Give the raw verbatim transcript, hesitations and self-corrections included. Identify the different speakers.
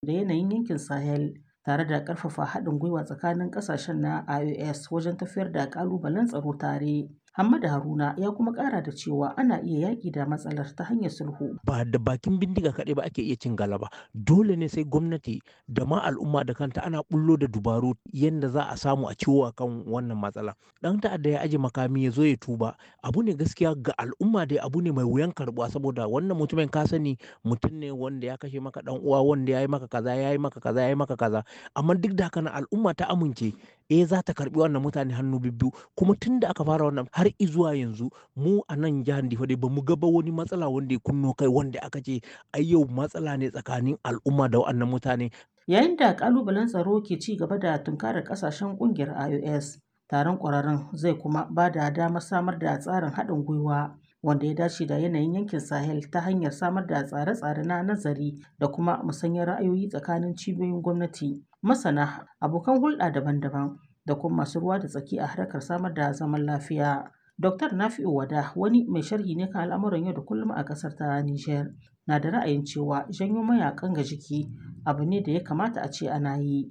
Speaker 1: da yanayin yankin Sahel, tare da ƙarfafa haɗin gwiwa tsakanin ƙasashen na I O S wajen tafiyar da ƙalubalen tsaro tare. Hamada Haruna ya kuma ƙara da cewa ana iya yaƙi da matsalar ta hanyar sulhu.
Speaker 2: Ba da bakin bindiga kaɗai ba ake iya cin galaba. Dole ne sai gwamnati da ma al'umma da kanta ana bullo da dubaru yadda za a samu a ciwo kan wannan matsala. Ɗan ta'adda ya aje makami ya zo ya tuba. Abu ne gaskiya ga al'umma dai abu ne mai wuyan karɓuwa, saboda wannan mutumin ka sani mutum ne wanda ya kashe maka ɗan uwa, wanda ya yi maka kaza, ya yi maka kaza, ya yi maka kaza. Amma duk da haka nan al'umma ta amince eh za ta karɓi wannan mutane hannu bibbiyu. Kuma tun da aka fara wannan har izuwa yanzu, mu a nan jihar Difa dai bamu ga ba wani matsala wanda ya kunno kai wanda aka ce ai yau matsala ne tsakanin al'umma da wa'annan mutane.
Speaker 1: Yayin da ƙalubalen tsaro ke ci gaba da tunkarar ƙasashen ƙungiyar I O S, taron ƙwararrun zai kuma ba da damar samar da tsarin haɗin gwiwa wanda ya dace da yanayin yankin Sahel ta hanyar samar da tsare-tsare na nazari da kuma musanyar ra'ayoyi tsakanin cibiyoyin gwamnati, masana, abokan hulɗa daban-daban da kuma masu ruwa da tsaki a harkar samar da zaman lafiya. Doktor Nafi'u Wada, wani mai sharhi ne kan al'amuran yau da kullum a ƙasar ta Nijar, na da ra'ayin cewa janyo mayakan ga jiki abu ne da ya kamata a ce ana yi.